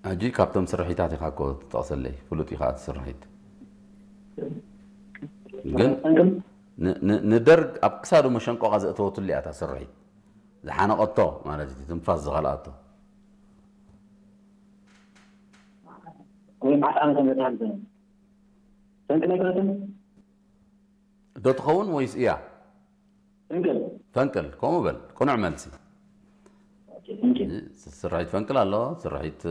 ሕጂ ካብቶም ስርሒታት ኢኻ እኮ ትጠቕሰለይ፣ ፍሉጥ ኢኻ እቲ ስርሒት። ግን ን- ን- ንደርግ ኣብ ክሳዱ መሸንቆቓ ዘእተወትሉ እያ እታ ስርሒት። ዝሓነቐቶ ማለት እዩ፣ ትንፋስ ዝኸልኣቶ። ወይ መዓስ ዓመተ ምህረት ሓሊፈ? ፈንቅል ኣይኮነትን? ዶ ትኸውን ወይስ እያ? ፈንቅል። ፈንቅል፣ ከምኡ በል፣ ቅኑዕ መልሲ። ኦኬ፣ ፈንቅል። ስርሒት ፈንቅል ኣሎ፣ ስርሒት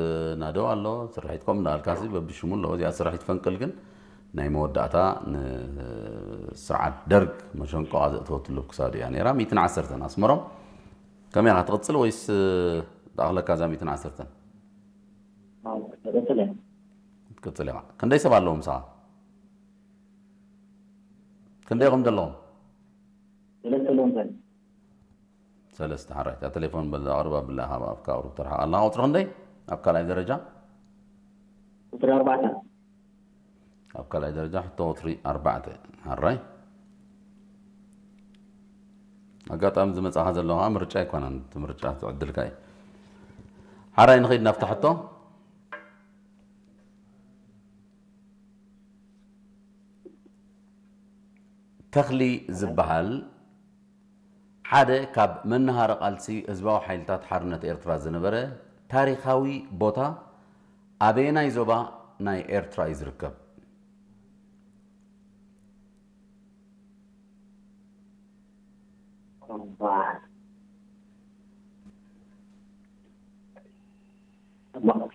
ናደው ኣሎ፣ ስርሒት ከምኡ እንዳበልካሲ በብሽሙ ኣሎ። እዚኣ ስርሒት ፈንቅል ግን ናይ መወዳእታ ንስርዓት ደርግ መሸንቆቓ ዘእተወትሉ ክሳዱ እያ ነይራ። ሚእትን ዓሰርተን ኣስመሮም፣ ከመይ ኢኻ ትቕጽል ወይስ ትኣኽለካ እዛ ሚእትን ዓሰርተን? ኣዎ፣ ቀጽል እያ። ትቅጽል ኢኻ። ክንደይ ሰብ ኣለዎም ምሳኻ? ክንደይ ኢኹም ዘለኹም? ሰለስተ ኣለዎም ሰብ። ሰለስተ። ሓራይ፣ እታ ቴሌፎን በዛ ኣቕርብ ኣብላ ኢኻ፣ ኣብካ ኣቕርብ ትርሓቕ ኣላ። ቁጽሪ ክንደይ ኣብ ካልኣይ ደረጃ? ቁጽሪ ኣርባዕተ። ኣብ ካልኣይ ደረጃ ሕቶ ቁጽሪ ኣርባዕተ። ሓራይ፣ ኣጋጣሚ ዝመጻኻ ዘለኻ ምርጫ ኣይኮነን፣ እቲ ምርጫ ትዕድልካ እዩ። ሓራይ፣ ንኸይድ ናብታ ሕቶ። ተኽሊ ዝበሃል ሓደ ካብ መነሃሪ ቃልሲ ህዝባዊ ሓይልታት ሓርነት ኤርትራ ዝነበረ ታሪኻዊ ቦታ ኣበየናይ ዞባ ናይ ኤርትራ እዩ ዝርከብ?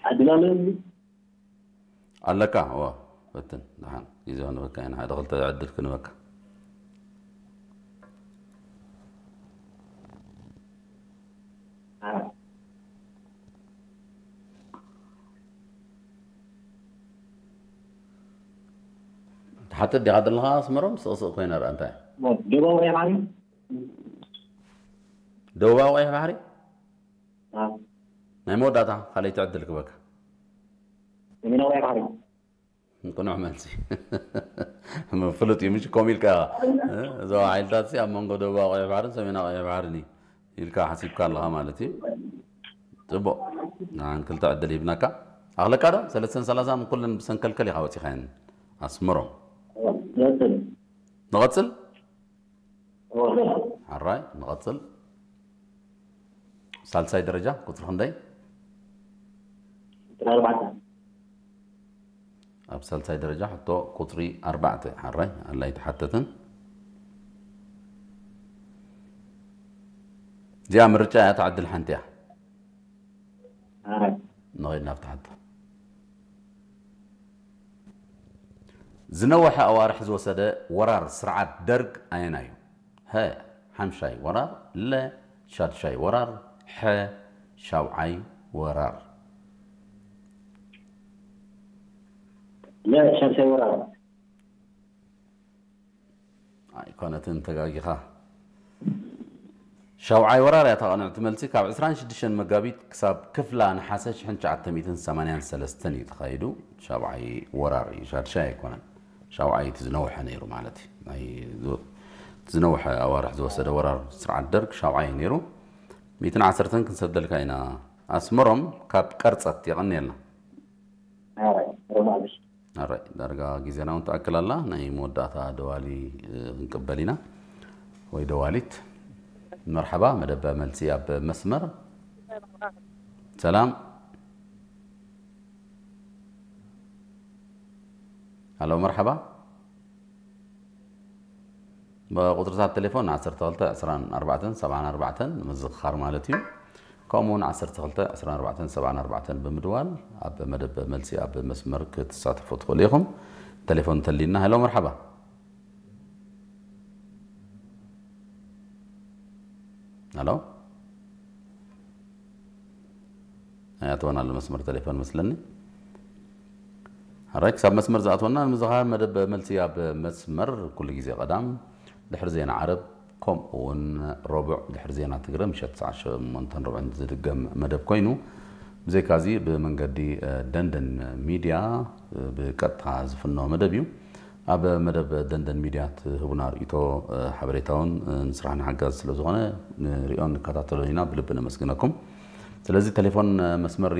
ዕድል ኣለኒ። ኣለካ? እወ፣ ፈትን። ደሓን ግዜ ክንበካ ኢና፣ ሓደ ክልተ ዕድል ክንበካ። ትሓትት ዲኻ ዘለኻ ኣስመሮም? ስቕስቕ ኮይነ ርኣ እንታይ? ደቡባዊ ቀይሕ ባሕሪ። ደቡባዊ ቀይሕ ባሕሪ? ኣዎ። ናይ መወዳእታ ካልኣይቲ ዕድል ክበካ። ሰሜናዊ ቀይሕ ባሕሪ። ቅኑዕ መልሲ። ፍሉጥ እዩ፣ ምሽ ከምኡ ኢልካ ኢኻ። እ፣ ዞባ ሓይልታት ሲ ኣብ መንጎ ደቡባዊ ቀይሕ ባሕርን ሰሜናዊ ቀይሕ ባሕርን እዩ ኢልካ ሓሲብካ ኣለኻ ማለት እዩ። ጽቡቕ። ንዓን ክልተ ዕድል ሂብናካ። ኣኽለካ ዶ? ሰለስተን ሰላሳን ኩለን ብሰንከልከል ኢኻ ወጺኻየን። ኣስመሮም። ንቐጽል። ንቐጽል? እወ። ሓራይ፣ ንቐጽል። ሳልሳይ ደረጃ ቁጽሪ ክንደይ? ቁጽሪ ኣርባዕተ። ኣብ ሳልሳይ ደረጃ ሕቶ ቁጽሪ ኣርባዕተ። ሓራይ፣ ኣላ ኣይተሓተትን። እዚኣ ምርጫ እያ፣ ትዓድል ሓንቲ እያ። ሓራይ። ንኸይድ ናብቲ ሕቶ። ዝነውሐ ኣዋርሕ ዝወሰደ ወራር ስርዓት ደርግ ኣየናይ እዩ? ሀ፣ ሓምሻይ ወራር፣ ለ፣ ሻድሻይ ወራር፣ ሐ፣ ሻውዓይ ወራር። ለ፣ ሻድሻይ ወራር። ኣይኮነትን፣ ተጋጊኻ። ሻውዓይ ወራር እያ እታ ቅንዕቲ መልሲ። ካብ ዕስራን ሽዱሽተን መጋቢት ክሳብ ክፍላ ነሓሰ ሽሕን ትሽዓተ ሚእትን ሰማንያን ሰለስተን እዩ ተኻይዱ። ሻውዓይ ወራር እዩ፣ ሻድሻይ ኣይኮነን። ሻውዓይ እቲ ዝነውሐ ነይሩ ማለት እዩ። ናይ ዝ-፣ እቲ ዝነውሐ ኣዋርሕ ዝወሰደ ወራር ስርዓት ደርግ ሻውዓይ እዩ ነይሩ። ሚእትን ዓሰርተን ክንሰደልካ ኢና። ኣስመሮም ካብ ቀርጸት የቐንየልና። ሓራይ፣ ሮማልሽ። ኣራይ፣ ዳርጋ ግዜና እውን ትኣክል ኣላ። ናይ መወዳእታ ደዋሊ፣ እ፣ ክንቅበል ኢና። ወይ ደዋሊት። መርሓባ፣ መደብ መልሲ ኣብ መስመር። ሰላም። ሃሎ፣ መርሓባ። ብቁጽርታት ቴሌፎን ዓሰርተ ክልተ ዕስራን ኣርባዕተን ሰብዓን ኣርባዕተን ንምዝኽኻር ማለት እዩ። ከምኡ እውን ዓሰርተ ክልተ ዕስራን ኣርባዕተን ሰብዓን ኣርባዕተን ብምድዋል ኣብ መደብ መልሲ ኣብ መስመር ክትሳተፉ ትኽእሉ ኢኹም። ቴሌፎን እንተልዩና። ሄሎ፣ መርሓባ። ሄሎ። ኣይኣተወን ኣሎ መስመር ቴሌፎን መስለኒ። ሕራይ ክሳብ መስመር ዝኣትወና ንምዝኻር መደብ መልሲ ኣብ መስመር ኩሉ ግዜ ቀዳም ድሕሪ ዜና ዓረብ ከምኡ እውን ረቡዕ ድሕሪ ዜና ትግረ ምሸት ሰዓት ሸሞንተን ርብዕን ዝድገም መደብ ኮይኑ ብዘይካዚ ብመንገዲ፣ እ፣ ደንደን ሚድያ፣ እ፣ ብቀጥታ ዝፍኖ መደብ እዩ። ኣብ መደብ ደንደን ሚድያ ትህቡና ርእይቶ፣ እ፣ ሓበሬታውን፣ እ፣ ንስራሕና ሓጋዚ ስለ ዝኾነ ንሪኦን ንከታተሎን ኢና። ብልቢ ነመስግነኩም። ስለዚ ቴሌፎን፣ እ፣ መስመር